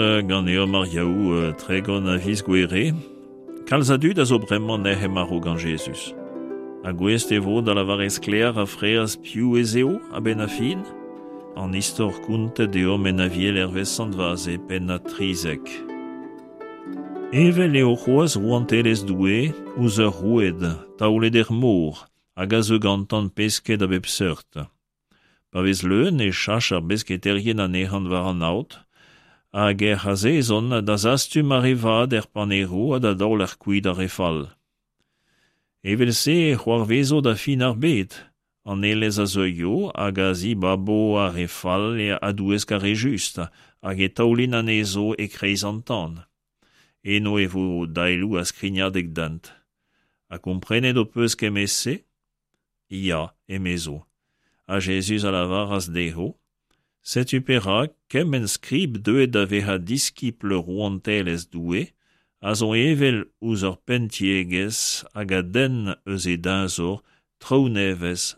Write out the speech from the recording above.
Ganeomp ar Yaou 30 a viz Gouere. Kalz a dud a zo bremañ nec'h marv gant Jezuz. Ha gouest e vo da lavaret sklaer ha fraezh piv ez eo a-benn ar fin? An istor kontet deomp en Aviel hervez Sant Vaze, pennad 13. Evel eo c'hoazh rouantelezh Doue ouzh ur roued taolet er mor hag a zeu gantan pesked a bep seurt. Pa vez leun e chach ar besketaerien anezhañ war an aod hag ec'h azezont da zastum ar re vat er paneroù ha da daoler kuit ar re fall. Evel-se e c'hoarvezo da fin ar bed, an aelez a zeuio hag a zibabo ar re fall a-douesk ar re just hag e taolint anezho e-kreiz an tan. Eno e vo daeloù ha skrignadeg dent. Ha komprenet ho peus kement-se? Ya, emezo. Ha Jezuz a lavaras dezho, Setu perak kement skrib deuet da vezañ diskibl rouantelezh Doue a zo evel ouzh ur penn-tiegezh hag a denn eus e deñzor traoù nevez.